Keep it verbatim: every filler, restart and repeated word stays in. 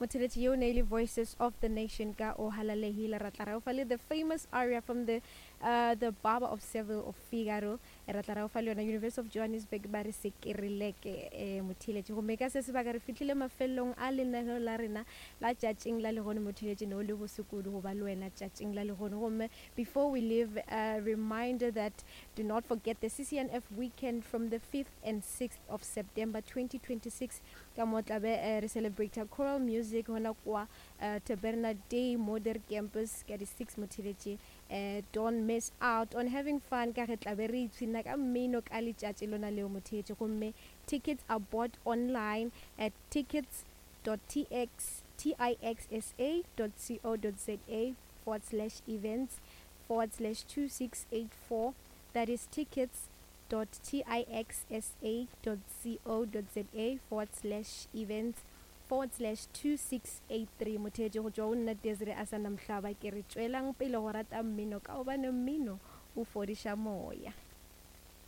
Motheletši yeo ne e le Voices of the Nation ka O Halalehile. Ra tla ra o fa le the famous aria from the uh, the Barber of Seville of Figaro. Ra tla ra o fa le yona University of Johannesburg ba re sekereleke eh, motheletši. Gomme ka se sebaka re fihlile mafelelong a lenaneo la rena la tšatšing la lehono. Motheletši, ne o le bose kudu go ba le wena tšatšing la lehono. Gomme before we leave, a reminder that do not forget the C C N F weekend from the fifth and sixth of September twenty twenty-six, ka mo tlabe uh, re celebrate choral music gona kwa uh, Taberna Dei Modern Campus ka di six. Motheletši, uh, don't miss out on having fun ka ge tlabe re ipshina ka mmino ka letšatši lona leo, motheletši. Gomme tickets are bought online at tickets dot tix tixa dot co dot za forward slash events forward slash two six eight four. That is tickets dot tixa dot co dot za forward slash events forward slash two six eight three. Motheetši, go tšwa go nna Desire a sa namhlaba, ke re tšwelang pele go rata mmino ka gobane mmino o fodiša moya.